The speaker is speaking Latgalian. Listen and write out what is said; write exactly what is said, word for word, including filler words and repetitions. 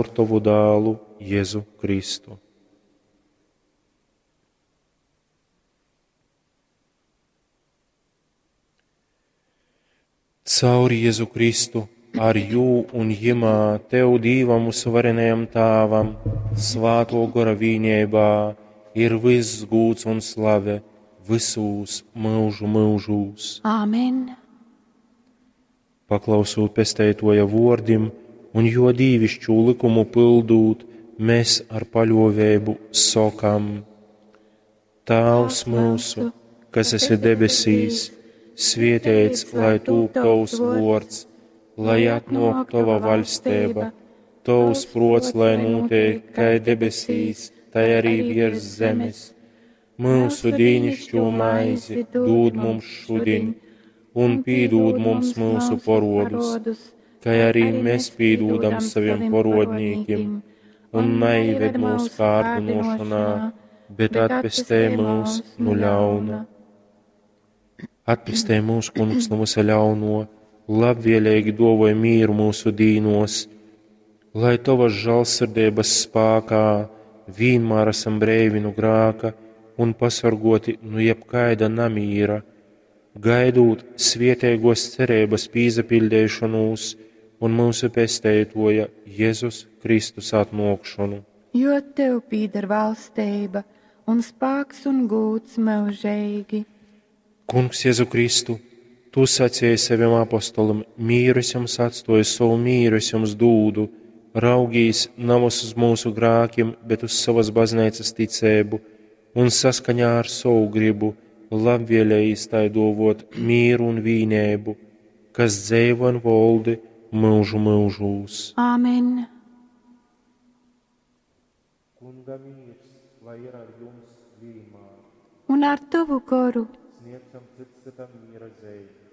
Tovu dālu Jezu Kristu. Caur Jezu Kristu, ar jū un jimā, Tev, Dīvam vysuvarenajam Tāvam, Svātō Gora vīneibā, ir vyss gūds un slave vysūs myužu myužūs. Āmen. Paklausūt Pesteitoja vōrdim un jō dīviškū lykumu pyldūt, mēs ar paļōveibu sokam: Tāvs myusu, kas esi debesīs, svēteits lai tūp tovs vōrds, lai atnōk tova vaļsteiba, tovs prōts lai nūteik kai debesīs, tai arī viers zemes. Myusu dīnišķo maizi dūd mums šudiņ, un pīdūd mums myusu porodus, kai arī mēs pīdūdam saviem porodnīkim, un naieved mūsu kārdinošanā, bet atpestej mūs no ļauna. Atpestej mūs, Kungs, no visa ļauno, labvēlīgi dovoj mīru mūsu dīnos, lai tavas žālsirdības spākā vienmēr esam breivi no grāka un pasargoti no jebkaida namīra, gaidūt svietēgos cerības pīzapildīšanos un mūsu pesteitoja Jēzus Kristus atnākšanu. Jo tev pīder valstība un spāks un gūds mūžīgi. Kungs Jēzu Kristu, tu sacīji saviem apostolim, mīru es jums atstoju, savu mīru es jums dūdu, raugīs navas uz mūsu grākiem, bet uz savas baznīcas ticēbu un saskaņā ar savu gribu labvēlējis tai dovot mīru un vīnēbu, kas dzeivo un voldi mūžu mūžūs. Āmen. Kunga mīrs, lai ir ar jums vienmēr. Un ar tavu goru. Sniedzam cits citam miera zīmi.